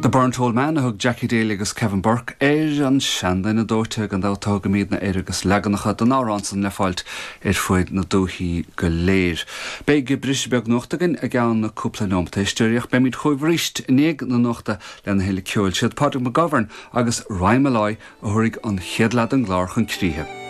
The Burnt Old Man a thug Jackie Daly agus Kevin Burke air, an seanduine dóite gan dabht a thugaimidne air agus leaganacha den amhrán san le fáilt ar fuaid na dúichí go léir. Beidh briseadh beag nuachta againn i gceann cúpla neomat, a éisteoirí, ach beimid chugaibh arís i ndiaidh na nuachta lena thuilleadh ceoil. Siad Pádraig McGovern agus Ryan Molloy a thabharfaidh an chéad leath den gclár chun críche.